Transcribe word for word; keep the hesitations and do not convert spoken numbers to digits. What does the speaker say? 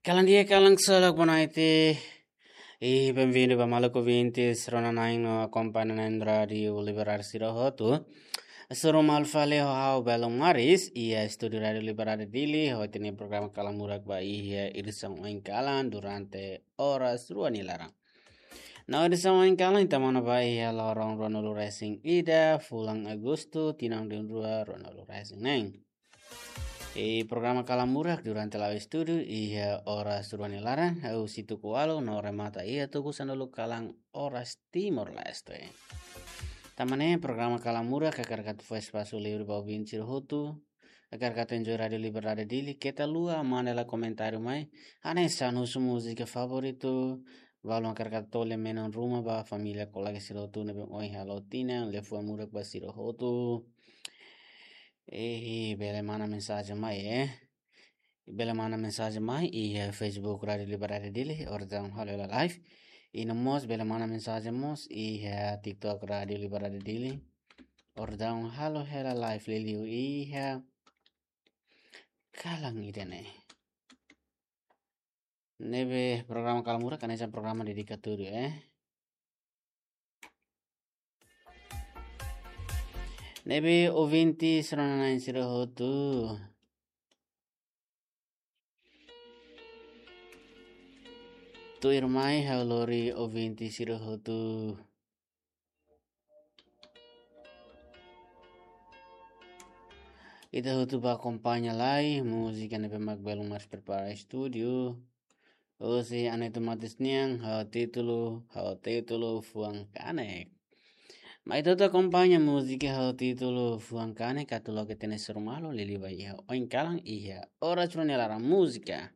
Kalan di'ak, kalan ksolok, boa noite. I benvindu ba maluk ouvintes rona-na'in no akompaña na'in Rádiu Liberdade sira hotu. Hasoru malu fali ho ha'u Belon Maris, iha estúdiu Rádiu Liberdade Dili, ho ita-nia programa Kalan Murak ba iha edisaun oin kalan durante oras rua nia laran. No edisaun oin kalan ita monu ba iha loron ruanulu-resin-ida, fulan Agostu, tinan rihun rua ruanulu-resin-neen. I programa Kalan Murak durante la'o estúdiu iha oras rua nia laran, hahú husi tuku ualu no remata iha tuku sanulu kalan oras Timor-Leste. Tanba ne'e programa Kalan Murak hakarak atu fó espasu livre ba ouvinte sira hotu, hakarak atu enjoy Rádiu Liberdade Dili, keta haluha manda hela komentáriu mai, hanesan husu múzika favoritu, balun hakarak atu tau lia-menon ruma ba família, kolega sira hotu ne'ebé ohin hala'o tinan, liafuan murak ba sira hotu. Eh, bele manda mensajen mai, eh. Bele manda mensajen mai iha Facebook Rádiu Liberdade Dili, orsida halo hela live. I no mós bele manda mensajen mós iha TikTok Rádiu Liberdade Dili, orsida halo hela live liuliu iha kalan ida-ne'e. Ne'ebé programa Kalan Murak hanesan programa dedikatoria, eh. Ne'ebé ouvinte rona-na'in sira hotu, tuirmai ha'u lori ouvinte sira hotu. Ita hotu bá akompaña lai múzika ne'ebé mak Belon Maris prepara estúdiu. Husi Aneto Matos nian, ho títulu, ho títulu Fuan Kanek. Mai ita hotu akompaña múzika ho títulu Fuan Kanek, atu loke ita-nia hasoru malu liuliu ba iha oin kalan iha oras rua nia laran múzika.